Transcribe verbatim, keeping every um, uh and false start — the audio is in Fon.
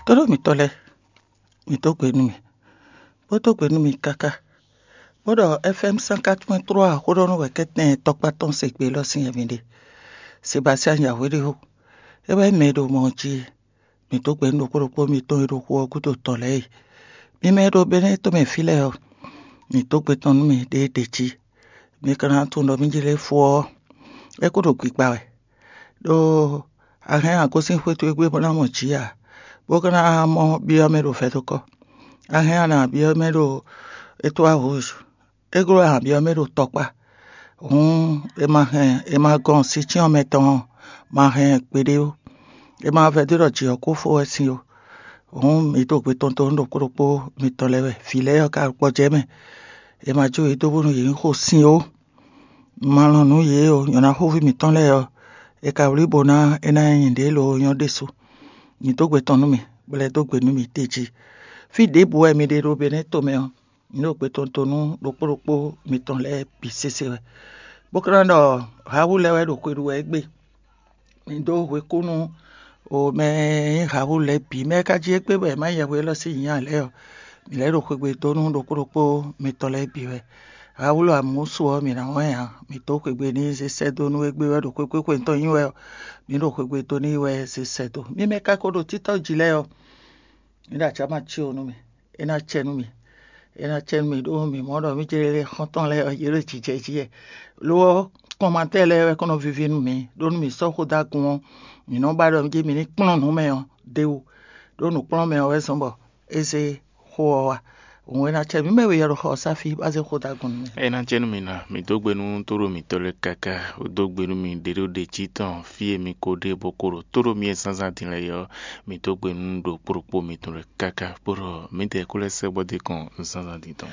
Tlóló mǐtɔn lɛ́ɛ, mǐ dó gbe nú mì, bó dó gbe nú mì káká, bó ɖɔ F M cent quatre point trois xó ɖɔ nú wɛ kɛ́tɛn tɔkpá tɔn se gbe élɔ́ sín wɛ mi ɖe. Sebastian Yahweh ɖe xó, é wɛ mɛ e ɖo mɔ ɔ́ jí é. Mǐ dó gbe nú ɖokpó ɖokpó mitɔn e ɖo xu ɔ́ gúdo tɔn lɛ́ɛ e. Mi mɛ e ɖo Benɛ́ tɔn mɛ fí lɛ́ɛ ɔ́, mǐ dó gbe tɔn nú mì ɖěe ɖě jí. Mi ka ná tunwun ɖɔ mí jlé fó ɔ́, é kó ɖo gbigba wɛ, ɖó a hɛn a gosín xwé towe gbe bó ná mɔ jǐ ǎ, bó ka ná mɔ byɔ́ mɛ ɖo vɛ̌dokɔ. A hɛn a nǎ byɔ́ mɛ ɖo étoile rouge, é gló a nǎ byɔ́ mɛ ɖo tɔkpá. Hǔn è ma hɛn è ma gɔn sin cyɔ́n mɛ tɔn ɔ́, ma hɛn gbeɖé ó. È ma vɛdó ɖɔ jǐ ɔ́ kó fó wɛ sín ó. Hǔn mǐ ɖo gbe tɔn dó nú ɖokpó ɖokpó mitɔn lɛ́ɛ wɛ. Vǐ lɛ́ɛ ɔ́ ka gbɔjɛ́ mɛ. È ma jó yě dó bónú yě ní xo sin ó. Ma lɔn nǔ yě o, nyɔ̌ná xóví mǐtɔn lɛ́ɛ ɔ́, è ka wlí bó ná é ná nyí nǔɖé lo nyɔ́ ɖésú. Mǐ dó gbe tɔn nú mì, bó lɛ́ dó gbe nú mì d'é jí. Fí ɖěbǔ wɛ mi ɖe ɖo Benɛ́ tomɛ ɔ́, mǐ ɖo gbe tɔn dó nú ɖokpó ɖokpó mitɔn lɛ́ɛ bǐ sésé wɛ. Bó ka ná ɖɔ Hawu lɛ́ɛ wɛ ɖo xwe ɖu wɛ égbé. Mi dó hwekúnu o mɛ e nyí Hawu lɛ́ɛ bǐ. Mɛ e ka jí égbé bɔ è má nyɛ hwe élɔ́ sín nyǐ ǎ lɛ́ɛ ɔ́, mǐ lɛ́ ɖo xwegbe dó nú ɖokpó ɖokpó mitɔn lɛ́ɛ bǐ wɛ. Hawu amǔsu ɔ́, mǐ ná wɛn ǎ. Mǐ dó xwegbe n'i zé sɛ́ dó nú égbé wɛ ɖo xwéxwé xwe tɔn nyí wɛ ɔ́, mǐ ɖo xwegbe dó n'i wɛ zé sɛ́ dó. Mi mɛ ka ko ɖo títɔ́ jí lɛ́ɛ ɔ́, mi ɖo acǎ ma cí o nú mì. É ná cɛ nú mì. É ná cɛ nú mì ɖó mǐ mɔ ɖɔ mí ce lɛ́ɛ xɔ́ntɔn lɛ́ɛ ɔ́, yě ɖo jǐjɛ jí wɛ. Lo ɔ́, kɔnmatɛ́ lɛ́ɛ wɛ kɔn nɔ víví nú mǐ, ɖó nú mǐ sɔ́ xó dó agun ɔ́, mǐ nɔ ba ɖɔ mí ce mǐ ní kplɔ́n nǔ mɛ ɔ́ d'é wú, ɖó nǔkplɔ́nmɛ ɔ́ wɛ zɔ́n bɔ é zé xó ɔ́ wá. Hǔn é ná cɛ mǐ mɛ we yɛ ɖo xɔ ɔ́ sá fí bó ná zé xó dó agun nú mì. É ná cɛ nú mì ná, mǐ dó gbe nú tóɖó mǐtɔn lɛ́ɛ káká, bó dó gbe nú mì ɖě ɖo ɖě jí tɔn, fí e mi ko ɖe bó ko ɖo tóɖó mi e zánzán din lɛ́ɛ é ɔ́, mǐ dó gbe nú ɖokpó ɖokpó mitɔn lɛ́ɛ káká, bó ɖɔ mǐdɛɛ kó lɛ́ sɛ́ bó dó kɔn zánzán din tɔn.